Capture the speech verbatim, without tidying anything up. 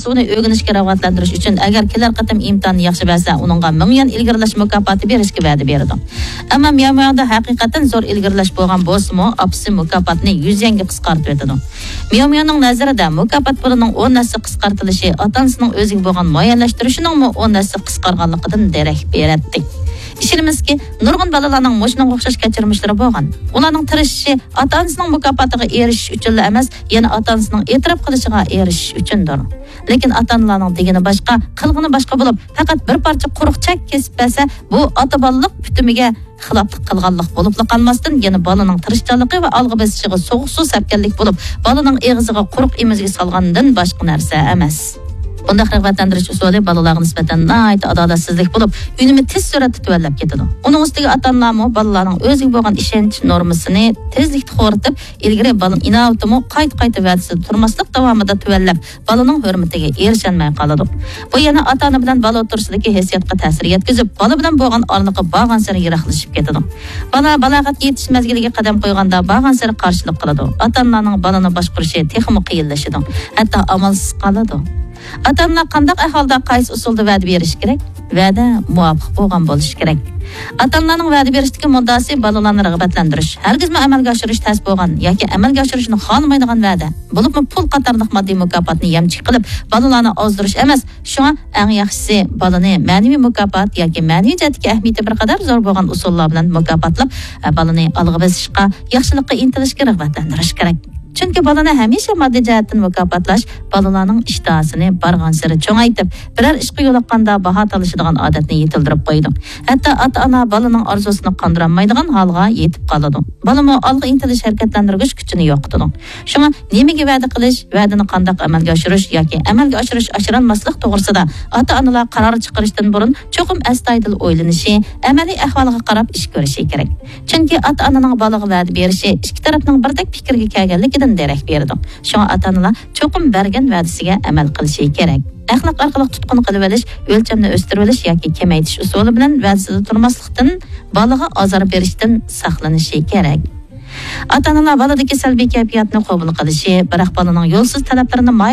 ئۇنى ئۆگىنىشكە رىغبەتلەندۈرۈش ئۈچۈن، ئەگەر كېلەر قېتىم ئىمتىھاننى ياخشى بەرسە، ئۇنىڭغا مىڭ يۈەن ئىلگىرىلەش مۇكاپاتى بېرىشكە ۋەدە بېرىدۇ. ئەمما مياۋ مياۋدا ھەقىقەتەن زور ئىلگىرىلەش بولغان بولسىمۇ، ئاپىسى مۇكاپاتنى يۈز يۈەنگە قىسقارتىۋېتىدۇ. مياۋ مياۋنىڭ نەزىرىدە، مۇكاپات پۇلىنىڭ ئون ھەسسە قىسقارتىلىشى ئاتا-ئانىسىنىڭ ئۆزىگە بولغان مۇئەييەنلەشتۈرۈشىنىڭمۇ ئون ھەسسە قىسقارغانلىقىدىن دېرەك بېرەتتى. ئىشىنىمىزكى، نۇرغۇن بالىلارنىڭ مۇشۇنىڭغا ئوخشاش كەچۈرمىشلىرى بولغان. ئۇلارنىڭ تىرىشىشى ئاتا-ئانىسىنىڭ مۇكاپاتىغا ئېرىشىش ئۈچۈنلا ئەمەس، يەنە ئاتا-ئانىسىنىڭ ئېتىراپ قىلىشىغا ئېرىشىش ئۈچۈندۇر. لېكىن ئاتا-ئانىلارنىڭ دېگىنى باشقا، قىلغىنى باشقا بولۇپ، پەقەت بىر پارچە قۇرۇق چەك كېسىپ بەرسە، بۇ ئاتا-بالىلىق پۈتۈمىگە خىلاپلىق قىلغانلىق بولۇپلا قالماستىن، يەنە بالىنىڭ تىرىشچانلىقى ۋە ئالغا بېسىشىغا سوغۇق سۇ سەپكەنلىك بولۇپ، بالىنىڭ ئېغىزىغا قۇرۇق ئېمىزۈك سالغاندىن باشقا نەرسە ئەمەس. بۇنداق رىغبەتلەندۈرۈش ئۇسۇلى بالىلارغا نىسبەتەن ناھايىتى ئادالەتسىزلىك بولۇپ، ئۈنۈمى تېز سۈرئەتتە تۆۋەنلەپ كېتىدۇ. ئۇنىڭ ئۈستىگە ئاتا-ئانىلارمۇ بالىلارنىڭ ئۆزىگە بولغان ئىشەنچ نورمىسىنى تېزلىكتە خورىتىپ، ئىلگىرى بالىنىڭ ئىناۋىتىمۇ قايتا-قايتا ۋەدىسىدە تۇرماسلىق داۋامىدا تۆۋەنلەپ، بالىنىڭ ھۆرمىتىگە ئېرىشەلمەي قالىدۇ. بۇ يەنە ئاتا-ئانا بىلەن بالا ئوتتۇرىسىدىكى ھېسسىياتقا تەسىر يەتكۈزۈپ، بالا بىلەن بولغان ئارىلىقى بارغانسېرى يىراقلىشىپ كېتىدۇ. بالا بالاغەتكە يېتىش مەزگىلىگە قەدەم قويغاندا بارغانسېرى قارشىلىق قىلىدۇ. ئاتا-ئانىلارنىڭ بالىنى باشقۇرۇشى تېخىمۇ قىيىنلىشىدۇ. ھەتتا ئامالسىز قالىدۇ. ئاتا-ئانىلار قانداق ئەھۋالدا قايسى ئۇسۇلدا ۋەدە بېرىشى كېرەك؟ ۋەدە مۇۋاپىق بولغان بولۇشى كېرەك. ئاتا-ئانىلارنىڭ ۋەدە بېرىشتىكى مۇددىئاسى بالىلارنى رىغبەتلەندۈرۈش. ھەرگىزمۇ ئەمەلگە ئاشۇرۇش تەس بولغان ياكى ئەمەلگە ئاشۇرۇشنى خالىمايدىغان ۋەدە، بولۇپمۇ پۇل قاتارلىق ماددىي مۇكاپاتنى يەمچۈك قىلىپ، بالىلارنى ئازدۇرۇش ئەمەس. شۇڭا ئەڭ ياخشىسى بالىنى مەنىۋى مۇكاپات ياكى مەنىۋى جەھەتتىكى ئەھمىيىتى بىر قەدەر زور بولغان ئۇسۇللار بىلەن مۇكاپاتلاپ، بالىنى ئالغا بېسىشقا، ياخشىلىققا ئىنتىلىشكە رىغبەتلەندۈرۈش كېرەك. چۈنكى بالىنى ھەمىشە ماددىي جەھەتتىن مۇكاپاتلاش بالىلارنىڭ ئىشتىھاسىنى بارغانسېرى چوڭايتىپ، بىرەر ئىشقا يولۇققاندا باھا تالىشىدىغان ئادەتنى يېتىلدۈرۈپ قويىدۇ. ھەتتا ئاتا-ئانا بالىنىڭ ئارزۇسىنى قاندۇرالمايدىغان ھالغا يېتىپ قالىدۇ. بالىمۇ ئالغا ئىنتىلىش ھەرىكەتلەندۈرگۈچ كۈچىنى يوقىتىدۇ. شۇڭا نېمىگە ۋەدە قىلىش، ۋەدىنى قانداق ئەمەلگە ئاشۇرۇش ياكى ئەمەلگە ئاشۇرۇش، ئاشۇرالماسلىق توغرىسىدا ئاتا-ئانىلار قارار چىقىرىشتىن بۇرۇن چوقۇم ئەستايىدىل ئويلىنىشى، ئەمەلىي ئەھۋالغا قاراپ ئىش كۆرۈشى كېرەك. چۈنكى ئاتا-ئانىنىڭ بالىغا ۋەدە بېرىشى ئىككى تەرەپنىڭ بىردەك پىكىرگە كەلگەنلىكىدىن دېرەك بېرىدۇ. شۇڭا ئاتا-ئانىلار چوقۇم بەرگەن ۋەدىسىگە ئەمەل قىلىشى كېرەك. ئەخلاق ئارقىلىق تۇتقۇن قىلىۋېلىش، ئۆلچەمنى ئۆستۈرۈۋېلىش ياكى كېمەيتىش ئۇسۇلى بىلەن ۋەدىسىدە تۇرماسلىقتىن، بالىغا ئازار بېرىشتىن ساقلىنىشى كېرەك. ئاتا-ئانىلار بالىدىكى سەلبىي كەيپىياتنى قوبۇل قىلىشى، بىراق بالىنىڭ يولسىز تەلەپلىرىنى